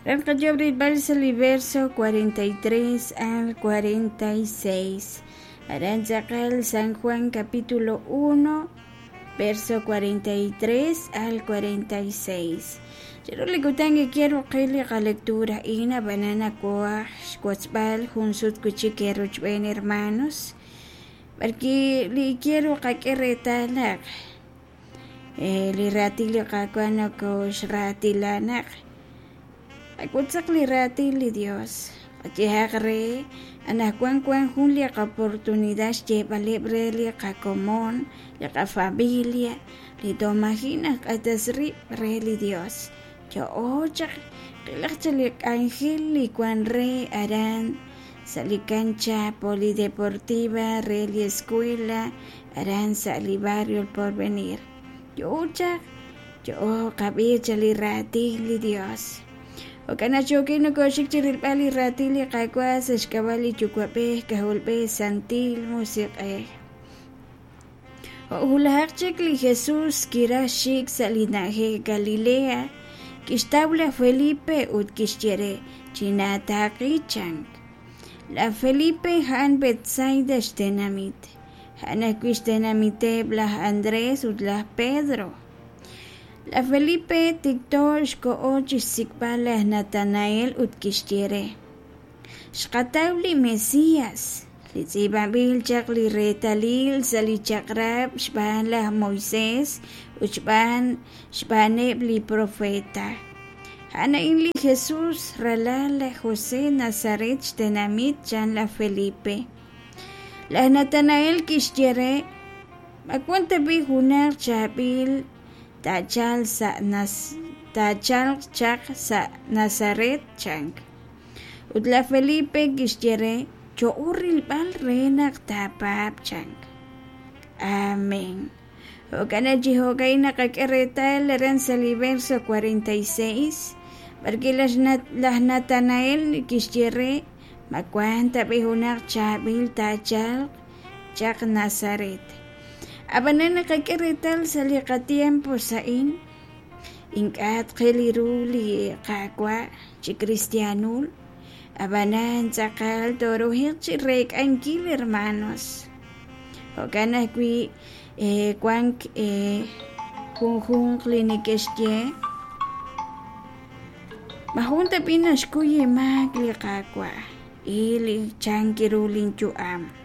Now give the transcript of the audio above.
Aran qayoob' rilb'al sa' li verso 43 al 46. Aran tz'aqal San Juan capítulo 1 verso 43 al 46. Chiru li kutan quiero qil li qalectura a'in ab'anan nawaj xwotzb'al jun sut wi' chik eerochb'een hermanos b'arwi' li quiero qak'e reetal naq li raatin li Qaawa' nokoxraatilanaq qawotzaq li raatin li Dios qayehaq re anaqwan wank jun li qoportunidad xyeeb'aleb' re li qakomon li qafamilia li toj maji' najq'atas rib' re li Dios yo'o chaq qilaq chaq li k'anjel li wank re aran sa' li cancha polideportiva re li escuela aran sa' li barrio El Porvenir yo'o chaq yo'o qab'i chaq li raatin li Dios jo'kan naq yookin nokoxik chi rilb'al li raatin li Qaawa' sa' xk'ab'a' li Yuwa'b'ej K'ajolb'ej Santil Musiq'ej. Jo' wulajaq chik li Jesús kiraj xik sa' li na'ajej Galilea, kixtaw laj Felipe ut kixye re: Chinaataaqi, chank. Laj Felipe a'an Betsaida xtenamit, a'an ajwi' xtenamiteb' laj Andrés ut laj Pedro. Laj Felipe tikto xkoho chi xsik'b'al laj Natanael ut kixye re: Xqataw li Mesías, li tz'iib'anb'il chaq li reetalil sa' li Chaq'rab' xb'aan laj Moisés ut xb'aan xb'aaneb' li propeet. A'an a'in li Jesús, ralal laj José, Nazaret xtenamit, chan laj Felipe. Laj Natanael kixye re: Ma wank tab'i' junaq chaab'il taachalq chaq sa' Nazaret? chank. Ut laj Felipe kixye re: Yo'o rilb'al re naq taapaab', chank. Amén. Jo'kan naq chi jo'ka'in naqak'e reetal aran sa' li verso 46 b'arwi' laj Natanael kixye re: Ma wank tab'i' junaq chaab'il taachalq chaq Nazaret? Ab'anan naqak'e reetal sa' li qatiempos a'in ink'a' tqil ru li Qaawa' chi kristiaanul, ab'anan tz'aqal tooruhiq chi reek'ankil hermanos. Jo'kan ajwi' wank junjunq li neke'xye: Ma jun tab'i' naxkuy inmaak li Qaawa'? Il chank ru linyu'am.